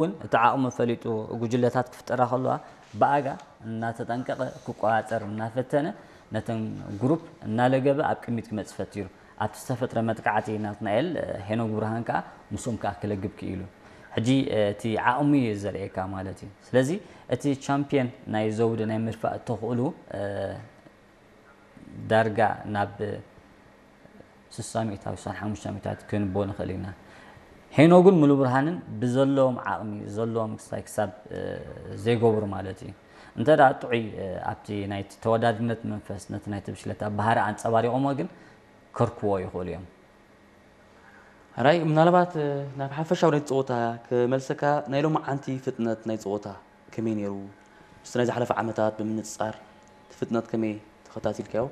እውን እቲ ዓቕሙ ፈሊጡ ጉጅለታት ክፍጠራ ከለዋ ብኣጋ እናተጠንቀቐ ክቆፃፀር እናፈተነ ነተን ግሩፕ እናለገበ ኣብ ቅድሚት ክመፅእ ፈቲሩ ኣብቲ ዝተፈጥረ መጥቃዕቲ ናትናኤል ሄኖግ ብርሃን ከዓ ምስኦም ከዓ ክለግብ ክኢሉ ሕጂ እቲ ዓቕሙ እዩ ዘርእየካ ማለት እዩ። ስለዚ እቲ ቻምፒየን ናይ ዘውዲ ናይ ምድፋእ ተኽእሉ ዳርጋ ናብ ስሳ ሚእታዊ ስሳን ሓሙሽተ ሚእታዊ ክንቦ ንኽእል ኢና። ሄኖግን ሙሉ ብርሃንን ብዘለዎም ዓቕሚ ዘለዎም ክሳይ ክሳብ ዘይገብሩ ማለት እዩ። እንተ ደኣ ጥዑይ ኣብቲ ናይቲ ተወዳድነት መንፈስ ነቲ ናይቲ ብሽለታ ባህሪ ኣንጸባሪቖሞ ግን ከርክዎ ይኽእሉ እዮም። ሕራይ ምናልባት ናብ ሓፈሻዊ ናይ ፀወታ ክመልሰካ ናይ ሎማዓንቲ ፍጥነት ናይ ፀወታ ከመይ ነይሩ? ምስቲ ናይ ዝሓለፈ ዓመታት ብምንፅፃር እቲ ፍጥነት ከመይ ተኸታቲልካዮ?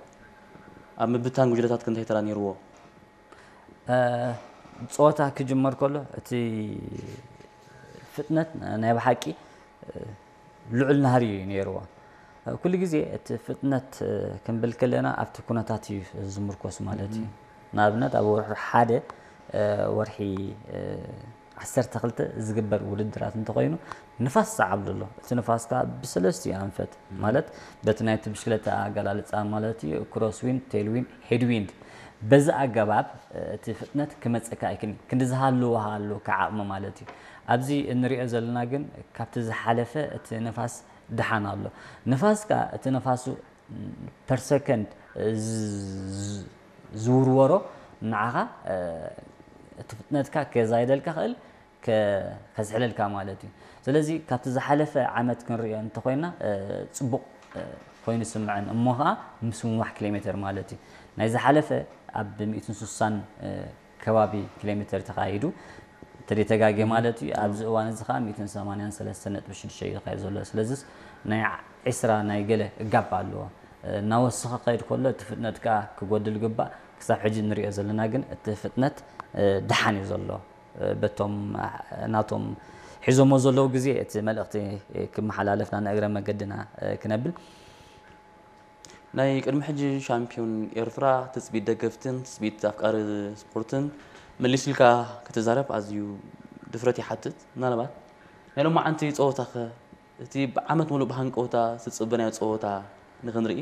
ኣብ ምብታን ጉጅለታት ከ እንታይ ተራ ነይርዎ? ፀወታ ክጅመር ከሎ እቲ ፍጥነት ናይ ብሓቂ ልዑል ናህሪ እዩ ነይርዎ። ኩሉ ግዜ እቲ ፍጥነት ክንብል ከለና ኣብቲ ኩነታት እዩ ዝምርኮስ ማለት እዩ። ንኣብነት ኣብ ወርሒ ሓደ ወርሒ ዓሰርተ ክልተ ዝግበር ውድድራት እንተኾይኑ ንፋስ ዝዓብሉ ኣሎ። እቲ ንፋስ ከዓ ብሰለስቲኡ ኣንፈት ማለት በቲ ናይቲ ብሽክለታ ኣገላልፃ ማለት እዩ cross wind፣ tail wind፣ head wind በዚ ኣገባብ እቲ ፍጥነት ክመፀካ ኣይክእልን። ክንዲ ዝሃለዎ ሃለወካ ዓቕሚ ማለት እዩ። ኣብዚ እንሪኦ ዘለና ግን ካብቲ ዝሓለፈ እቲ ንፋስ ደሓን ኣሎ። ንፋስ ከዓ እቲ ንፋሱ per second ዝውርወሮ ንዓኻ እቲ ፍጥነትካ ከዛይደልካ ክእል ከዝሕለልካ ማለት እዩ። ስለዚ ካብቲ ዝሓለፈ ዓመት ክንሪኦ እንተኮይና ፅቡቕ ኮይኑ ስምዐን እሞ ከዓ ምስምማሕ ኪሎ ሜትር ማለት እዩ። ናይ ዝሓለፈ ኣብ ሚእትን ስሳን ከባቢ ኪሎ ሜትር ተኻይዱ ተደተጋጊ ማለት እዩ። ኣብዚ እዋን እዚ ከዓ ሚእትን ሰማንያን ሰለስተን ነጥቢ ሽዱሽተ እዩ ዝካየድ ዘሎ። ስለዚስ ናይ ዒስራ ናይ ገለ ጋፕ ኣለዎ። እናወሰኸ ከይድ ከሎ እቲ ፍጥነት ከዓ ክጎድል ግባእ። ክሳብ ሕጂ እንሪኦ ዘለና ግን እቲ ፍጥነት ደሓን እዩ ዘሎ። በቶም ናቶም ሒዞሞ ዘለዉ ግዜ እቲ መልእኽቲ ክመሓላለፍና ንእግረ መገድና ክነብል ናይ ቅድሚ ሕጂ ሻምፒዮን ኤርትራ ትጽቢት ደገፍትን ትጽቢት ኣፍቃሪ ስፖርትን መሊስልካ ክትዛረብ ኣዝዩ ድፍረት ይሓትት። ምናልባት ናይ ሎማዓንቲ ጸወታኸ እቲ ብዓመት ሙሉእ ብሃንቀውታ ዝጽበናዮ ጸወታ ንኽንርኢ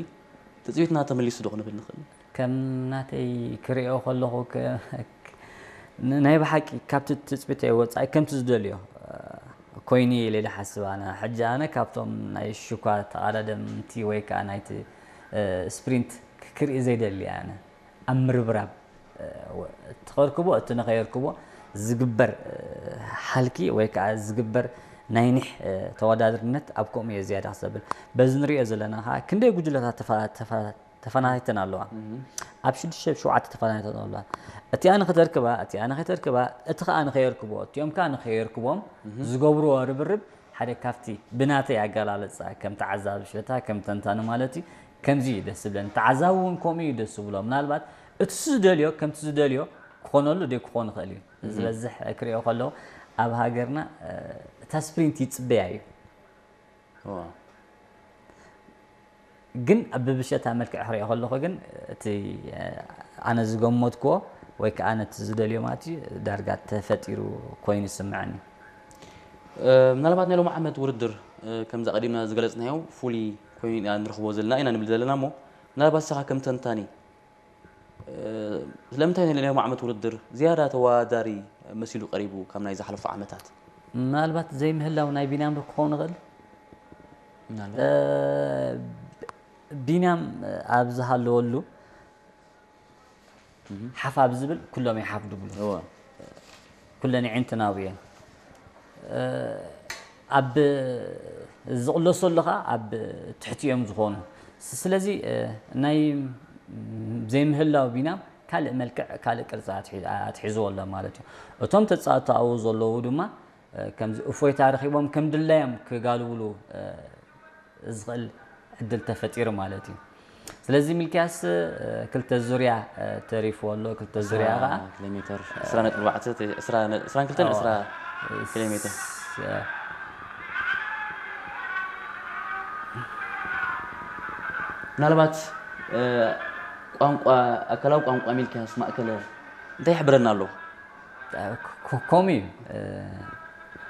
ትጽቢትና ተመሊሱ ዶ ክንብል ንኽእል? ከም ናተይ ክሪኦ ከለኹ ናይ ብሓቂ ካብቲ ትጽቢተይ ወጻኢ ከምቲ ዝደልዮ ኮይኑ ኢለ ኢለ ሓስብ ኣነ ሕጂ ኣነ ካብቶም ናይ ሽኳ ተቓዳደምቲ ወይ ከዓ ናይቲ ስፕሪንት ክርኢ ዘይደሊ ኣነ ኣብ ምርብራብ እቲ ከርክቦ እቲ ንኸየርክቦ ዝግበር ሓልኪ ወይ ከዓ ዝግበር ናይ ኒሕ ተወዳድርነት ኣብ ከምኡ እየ ዝያዳ ክሰብል በዚ ንሪኦ ዘለና ከዓ ክንደይ ጉጅለታት ተፈናቲተን ኣለዋ ኣብ ሽዱሽተ ሸውዓተ ተፈናቲተን ኣለዋ እቲኣ ንክተርክባ እቲኣ ንክተርክባ እቲ ከዓ ንኸየርክቦ እቲኦም ከዓ ንኸየርክቦም ዝገብርዎ ርብርብ ሓደ ካብቲ ብናተይ ኣገላልፃ ከም ተዓዛቢ ሽታ ከም ተንታኒ ማለት እዩ ከምዚ እዩ ደስ ዝብለኒ ተዓዛቢ እውን ከምኡ እዩ ደስ ዝብሎ ምናልባት እቲ ዝደልዮ ከምቲ ዝደልዮ ክኾነሉ ደይ ክኾን ይኽእል እዩ ዝበዝሕ ክሪኦ ከለዉ ኣብ ሃገርና እታ ስፕሪንት ይፅበያ እዩ ግን ብብሸታ መልክዕ ክሪኦ ከለኹ ግን እቲ ኣነ ዝገመትክዎ ወይ ከዓ ነቲ ዝደልዮ ማለት እዩ ዳርጋ ተፈጢሩ ኮይኑ ይስምዐኒ ምናልባት ናይ ሎሚ ዓመት ውድድር ከምዚ ቀዲምና ዝገለፅናዮ ፍሉይ ኮይኑ ኢና ንረኽቦ ዘለና ኢና ንብል ዘለና እሞ ምናልባት ንስኻ ከም ተንታኒ ስለምንታይ ናይ ሎሚ ዓመት ውድድር ዝያዳ ተወዳዳሪ መሲሉ ቀሪቡ ካብ ናይ ዝሓለፉ ዓመታት ምናልባት ዘይምህላው ናይ ቢንያም ዶ ክኸውን ይኽእል ቢንያም ኣብ ዝሃለወሉ ሓፍ ኣብ ዝብል ኩሎም ይሓፍ ድብሉ ኩለን ይዕንትናው እየን ኣብ ዝቕለሶ ኣለኻ ኣብ ትሕቲ እዮም ዝኾኑ ስለዚ ናይ ዘይምህላው ቢናም ካልእ መልክዕ ካልእ ቅርፂ ኣትሒዝዎ ኣሎ ማለት እዩ እቶም ተፃወቲ ኣብኡ ዘለዉ ድማ ከምዚ እፎይታ ረኺቦም ከም ድላዮም ክጋልብሉ ዝኽእል ዕድል ተፈጢሩ ማለት እዩ። ስለዚ ሚልክያስ ክልተ ዙርያ ተሪፍዎ ኣሎ። ክልተ ዙርያ ከዓ ኪሎ ሜትር ዕስራ ነጥቢ ኣርባዕተ ዕስራ ነጥቢ ዕስራ ክልተ ዕስራ ኪሎ ሜትር ምናልባት ቋንቋ ኣካላዊ ቋንቋ ሚልክያስ ማእከለ እንታይ ይሕብረና ኣሎ? ከምኡ እዩ።